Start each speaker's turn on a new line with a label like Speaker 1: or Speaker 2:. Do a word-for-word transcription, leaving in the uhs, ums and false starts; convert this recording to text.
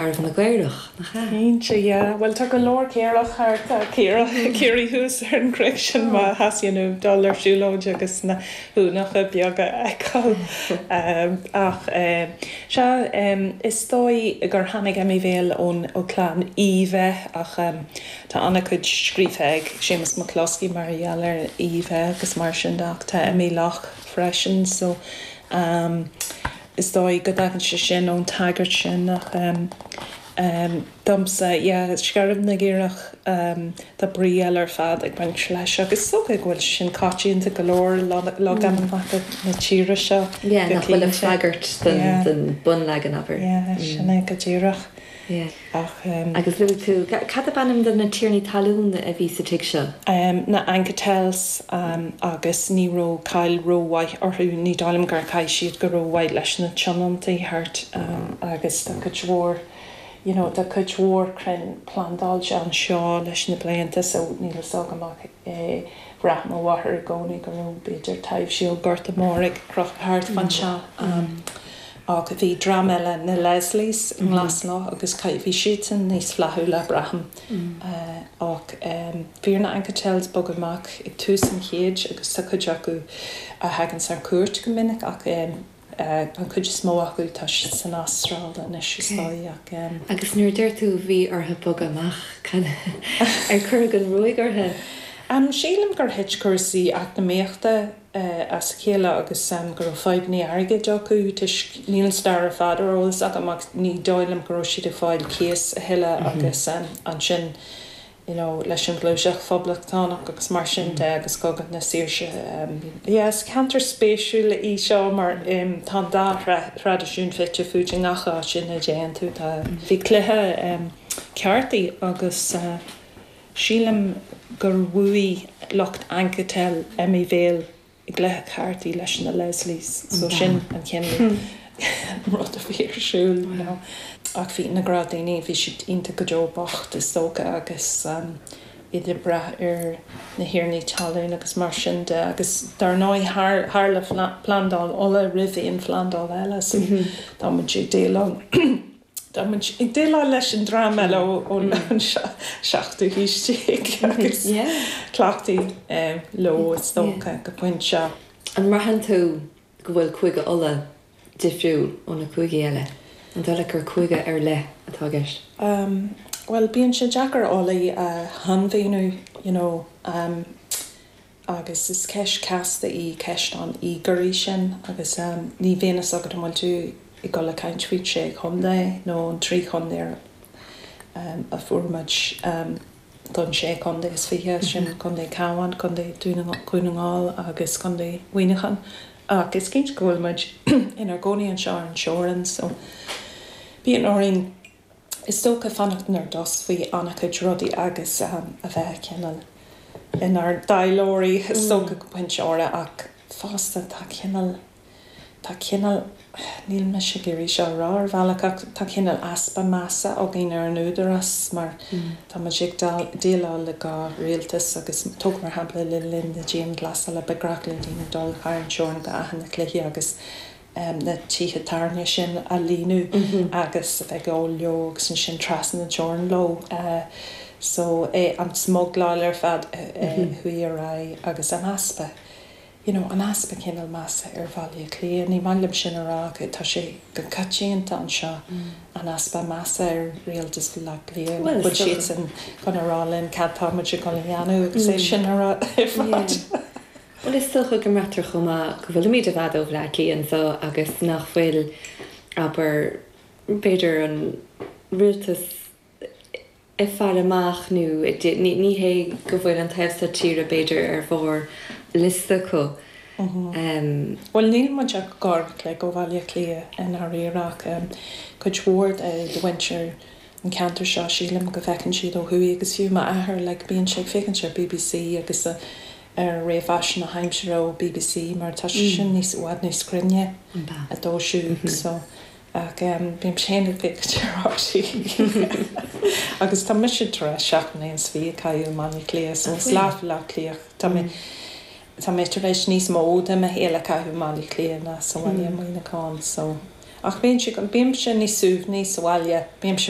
Speaker 1: Arbh na gCaorach, nach ea?
Speaker 2: Cinnte, yeah. Well tá go leor caorach thart caoirigh thuas ar an gcnoc sin má theastaíonn uait dul ar siúlóid agus na huaineacha beaga a fheiceáil. Ach sea, is dóigh gur tháinig Emyvale ón ó clann Uí Bheith ach tá an-chuid scríofa ag Séamus McCloskey mar gheall ar Uí Bheith agus mar sin de ach tá Emmy Loch freisin so is dóigh go dtagann sé sin ón tagairt sin ach domsa yeah Scairbh na gCaorach tá brí eile ar fad ag baint leis agus is dócha go bhfuil sin coitianta go leor logainmneacha na tíre seo
Speaker 1: Yeah, nach bhfuil ag freagairt den bunleagan abair.
Speaker 2: Yeah, sin é go díreach. Ach.
Speaker 1: Agus luaigh tú, cad ab ainm do na tiarnaí talún a bhí sa tigh seo?
Speaker 2: Na Anketells agus ní raibh cáil rómhaith orthu, ní dóigh liom gur chaith siad go rómhaith leis na tionóntaí thart agus tá cuid mhór, you know, tá cuid mhór crainn plandáilte anseo leis na blianta so níl fhios agam ach bhraith mo mháthair i gcónaí go raibh b'fhéidir taibhsí ó Ghorta Mór ag crochadh thart fán teach. Ach bhí dream eile, na Leslies, i nGlaslough agus bhí siadsan níos flaithiúla, braithim. Ach bhí ar na Anketels bogadh amach ag tús an chéid agus tá cuid acu a thaganns ar cuairt go minic ach an chuid is mó acu tá siad san Astráil anois is dóigh ach.
Speaker 1: Agus nuair a deir tú bhí orthu bogadh amach, cad, ar cuireadh an ruaig orthu?
Speaker 2: Sílim gur thit cúrsaí eacnamaíochta as a chéile agus go raibh fadhbanna airgid acu toisc, níl an stair ar fad ar eolas agam ach ní dóigh liom go raibh siad ag fáil cíos a thuilleadh agus ansin you know leis an ghluaiseacht phoblachtánach agus mar sin de agus Cogadh na Saoirse. Yeah, is ceantar spéisiúil í seo mar tá an dá thraidisiún fite fuaite i ngach áit ina dtéann tú. Tá, bhí cluiche cártaí agus sílim gur bhuaigh lucht Anketell Emyvale i gcluiche cártaí leis na Leslies so sin an cineál rud a bhí ar siúl you know. Ach bhí na gnáthdhaoine, bhí siad iontach go deo bocht is dócha agus iad ag brath ar na thiarnaí talún agus mar sin de agus dar ndóigh tharla Plandáil Uladh roimh aon phlandáil eile so tá muid ag déileáil Tá muid ag déileáil leis an dream eile ón seachtú haois déag agus cleachtaithe leo is dócha go pointe.
Speaker 1: An mbraitheann tú go bhfuil Cúige Uladh difriúil ó na cúigí eile? An dóigh leat gur cúige ar leith atá i gceist?
Speaker 2: Bhuel, bíonn sé deacair Ulaidh a shainmhíniú, you know. Agus is ceist chasta í ceist an íogairí sin agus ní bhíonn fhios agat an bhfuil tú ag dul a caint faoin sé chontae nó an trí chontae a fuair muid don sé chontae is fiche, sin Contae Cabhán, Contae Dhún na nGall agus Contae Mhuineacháin. Ach is cinnte go bhfuil muid inár gcónaí anseo ar an teorainn so bíonn orainn is dócha fanacht inár dtost faoi an-chuid rudaí agus a bheith cineál inár dtaidhleoirí is dócha go pointe áirithe ach fosta tá cineál, tá cineál, níl mise ag iarraidh seo a rá ar bhealach ach tá cineál easpa measa againn ar an údarás mar tá muid ag déileáil le dhá rialtas agus tóg mar shampla le linn na dianghlasála ba ghnách le daoine dul thar an teorainn go Áth na Cloiche agus na tithe tábhairne sin a líonadh agus a bheith ag ól leo agus ansin trasna na teorann leo. So an smugláil ar fad a chuaigh ar aghaidh agus an easpa, you know, an easpa cineál measa ar Bhaile Átha Cliath. Ní maith liom sin a rá ach tá sé go coitianta anseo, an easpa measa ar rialtas Bhaile Átha Cliath, nach bhfuil siadsan chun a rá linn cad tá muid ag dul a dhéanamh agus é sin a rá ar fad.
Speaker 1: Bhuel, is dócha go mbraitear chomh maith go bhfuilimid i bhfad ó Bhleá Cliath anseo agus nach bhfuil, abair, b'fhéidir an rialtas ag faire amach nó ní hé go bhfuil an taobh seo tíre b'fhéidir ar bharr liosta acu.
Speaker 2: Bhuel, níl muid ach uair an chloig ó Bhaile Átha Cliath i ndáiríre ach cuid mhór de mhuintir an ceantar seo, sílim go bhfeiceann siad ó thuaidh agus fiú m'athair, like, bíonn sé ag féachaint ar BBC agus ar réamhaisnéis na haimsire ó BBC mar tá sé sin níos, i bhfad níos cruinne dóibh siúd so ach bím féin ag féachaint ar RTÉ agus tá mise tar éis seacht mbliana is fiche a chaitheamh i mBaile Átha Cliath so is leath Bhaile Átha Cliath tá mé tá mé tar éis níos mó de mo shaol a chaitheamh i mBaile Átha Cliath ná sa bhaile i Muineachán so Ach bíonn sé bímse níos suaimhní sa bhaile, bímse